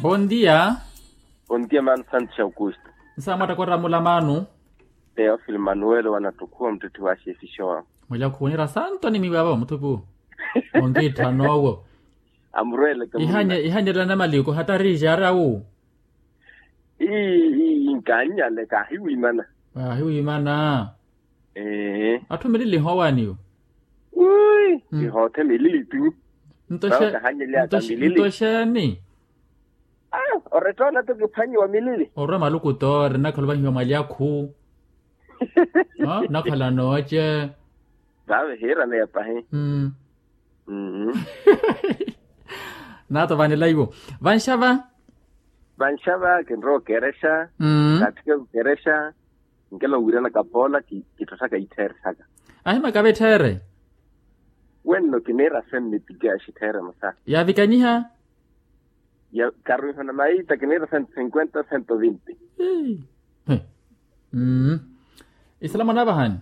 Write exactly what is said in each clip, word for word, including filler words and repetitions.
Bondia. Bondia mano santos aukusto. Nsaamwatta koramula mano. Teofil manuelo wanattukhuwa muttitti wa xefixa wawe. Mwelya khuwonera santo ni miwava muthupu. Onkiitthana owo. Amurwele ihanyerela na maliko hatari ixaara wu. Ii ii nkannyale kahiwimana. Ahiwimana. Ee. Atthu milili ehoowaani yo. Wi. Kihoothe milili tu. Nto xeeni? Oretta ona tu kiphwanyiwa milili. Orwa maluku toori nakhala ovahiwa mwalyakhu. Nakhala nooce. Vave hiiraneya pahi. Naato vanilaiwo vanxava. Vanxava kinrowa okerexa. Kaatthike kukerexa. Nkela owiirana kapoola kittottaka ittheere saka. Ahimaka vettheere. Wenno kiniira senne pike axittheere musa. Yaavikanyiha. Karuihana maita kiniira cento cinquenta cento vinti. Isalama naavahani.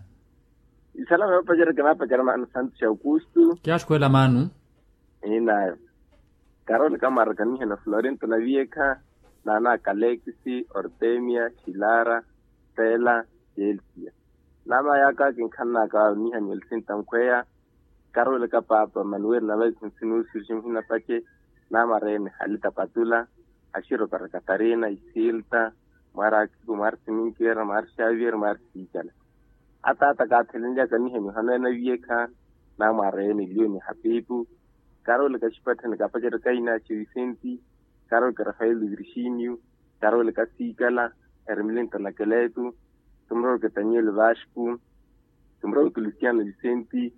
Isalama yoopacerya kinaapacerya maana santo xa aukustu. Kiyaxukhweela maanu. Inaayo. Karoli kamwarakanihana florinto na viyekha. Naana kalekisi ortemia xilara stela. Celsia. Naama yaaka kinkhannaaka wawe nihani olsinta nkhweya. Karoli ka paapa manuweli na vaisi nsinuusi oximihina pace. Naama reeni halita patula. Axiro para katarina isilta. Mwaari akiku mwaari siminkera mwaari xavier mwaari siikala. Ataata kaathelenilyaka nihani ohanoya na viyekha. Naama areeni lioni hapipu. Karoli ka xipatthani kapacerya kaina axi visenti. Karoli ka rafael virginio. Karoli ka siikala. Ermilinto na keletu. Kimuroweke taniel vasco. Kimuroweke lusiano visenti.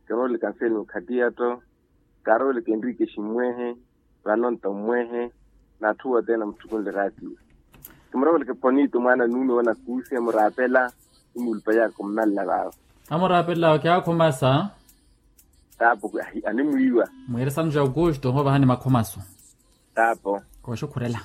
Kimuroweke anselmo khatiyatto. Karoli ka enrike ximmwehe. Vanonto mmwehe. N'atthu wothene amuttukunle ratio. Kimuroweke ponito mwaana nuume wanakuusi amuraapela. Imuulupayaka ommalla vaavo. Amuraapela kyakhumasa. Taapo. Animwiiwa. Mwiirisano ja aukusto ohovahani makhumaso. Taapo. Kooxukhurela.